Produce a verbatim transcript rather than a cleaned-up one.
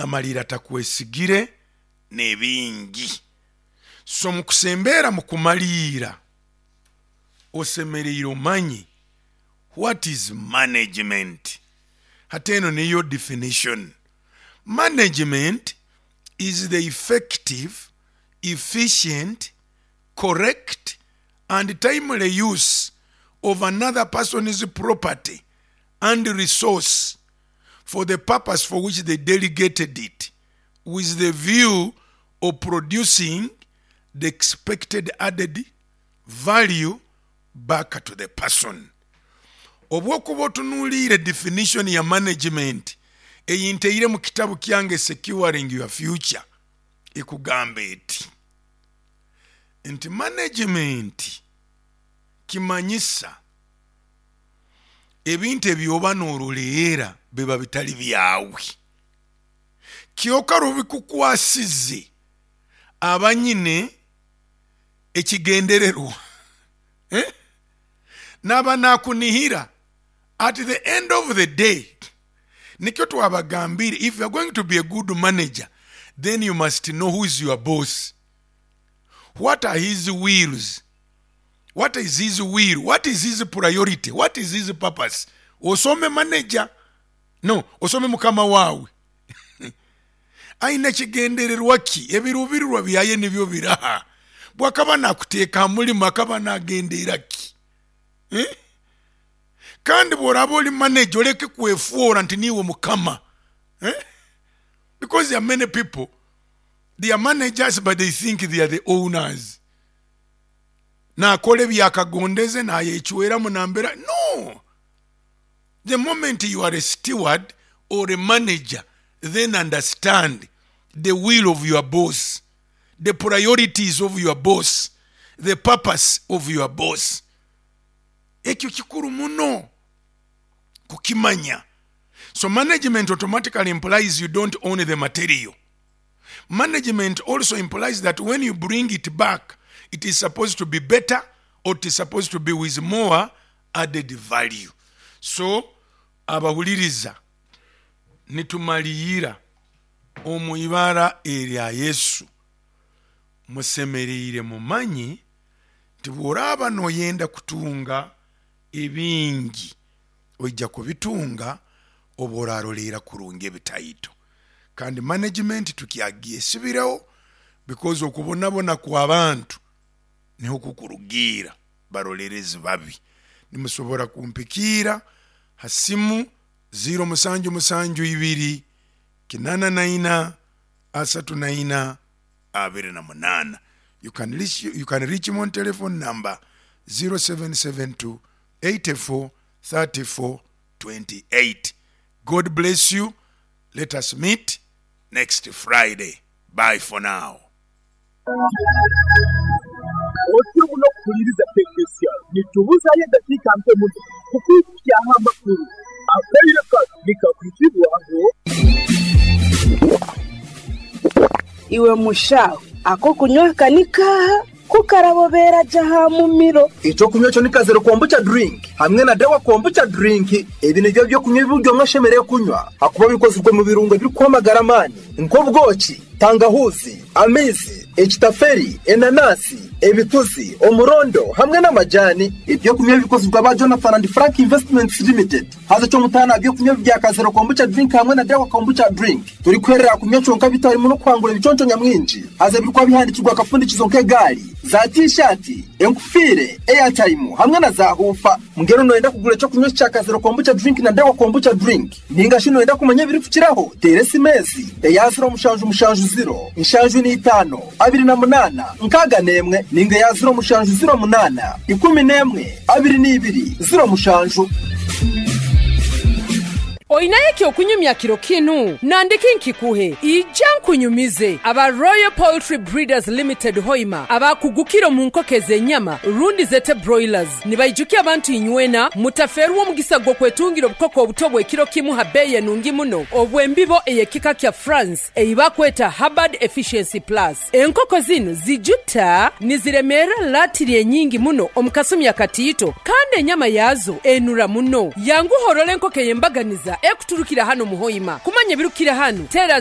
Amalira takwesigire n'ebingi. So mukusembeera mukumaliira, osemereire omanye what is management. Hati eno niyo definition: management is the effective, efficient, correct and timely use of another person's property and resource for the purpose for which they delegated it, with the view of producing the expected added value back to the person. Obwokuba otunuliire definition ya management eyinteire mu kitabu kyange Securing Your Future, ekugamba eti nti management kimanyisa ebintu ebyoba nooroleera biba bitali byawe, kyoka rubikukwasize abanyine ekigendererwa, eh? Naba nakunihira at the end of the day. Nikyo twabagambire, if you are going to be a good manager, then you must know who is your boss, what are his wills, what is his will, what is his priority, what is his purpose. Osome manager, no osome mukama waawe aine kigendererwa ki, ebiruubirirwa byaye nibyo biraha, bwakaba nakuteeka ha mulimu akaba nagendeera ki, eh? Kandi bw'oraba oli manager, oleke kwefuura nti niiwe mukama, eh? Because there are many people, they are managers but they think they are the owners. Nakora ebyakagondeze, nayecweramu nambera. No, the moment you are a steward or a manager, then understand the will of your boss, the priorities of your boss, the purpose of your boss. Ekyo kikuru muno kukimanya. So management automatically implies you don't own the material. Management also implies that when you bring it back, it is supposed to be better or it is supposed to be with more added value. So abahuliriza, nitumaliyira omu ibara erya Yesu, musemereire mumanyi nti bw'oraaba noyenda kutunga ebingi, oija kubitunga oba oraroleera kurungi ebitaito. Kandi management tukyagyesibireho because okubonabona kw'abantu niho kukurugiira barolerezi babi. Nimusobora kumpikiira ha simu ziro musanju musanju ibiri kinana naina asatu naina abiri na munana. You can reach, you can reach him on telephone number zero seven seven two eighty-four thirty-four twenty-eight. God bless you. Let us meet next Friday. Bye for now. Otyo muno kuhuliriza Tekinisiya, nitubuzayo edakiika nke muno kukwikyaho amakuru akaire kano nikakwizibwaho. Iwe mushawe, ako kunywa kanika kukarabobera ja mumiro. Icyo kunywa cyo ni Kazero Kombucha drink hamwe na Dawa Kombucha drink. Ibi nibyo byo kunywa ibiryo mwashemereye kunywa, hakuba bikozwe mu birungo biri kwamagara amani nk'ubwoki, tangahuzi, amizi, ekitaferi, enanasi, ebituzi, umurondo hamwe n'amajani. Ibyo kunywa bikozwe aba Jonathan and Frank Investments Limited. Haza cyo mutana byo kunywa bya Kazero Kombucha drink hamwe na Dawa Kombucha drink turi kwerera kunywa conka bitarimo no kwangura ibiconco nyamwinshi. Haza birikwa bihandikirwa akapfundikizo nk'egari, za T-shirt, enkufire, airtime hamwe na za hufa. Ngero noyenda kugura icyo kunywa cya Kazero Kombucha drink na Dawa Kombucha drink, ninga shino wenda kumenya biri kukiraho, tere S M S eya ziro mushanju mushanju ziro nshanju n'itano abiri na munana nkaga nemwe, ninga ya ziro mushanju ziro munana ikumi nemwe abiri n'ibiri ziro mushanju. Oyinayo ekyokunyumya kiro kinu nandiki nkikuhe ijja nkunyumize. Aba Royal Poultry Breeders Limited Hoima, abakugukira mu nkoko ez'enyama rundi zete broilers, nibayijukia abantu inywena mutaferwa omugisa gw'okwetungira obukoko obuto bw'ekiro kimu ha bbeeyi enungi muno, obw'embibo ey'ekika kya France eyibakweta Hubbard Efficiency Plus. Enkoko zinu zijuta niziremeera latiri enyingi muno omu kasumi akatiito, kandi enyama yaazo enura muno. Yanguhorora enkoko ey'embaganiza ekuturukira hano muhoima. Kumanya ebirukira hano, tera.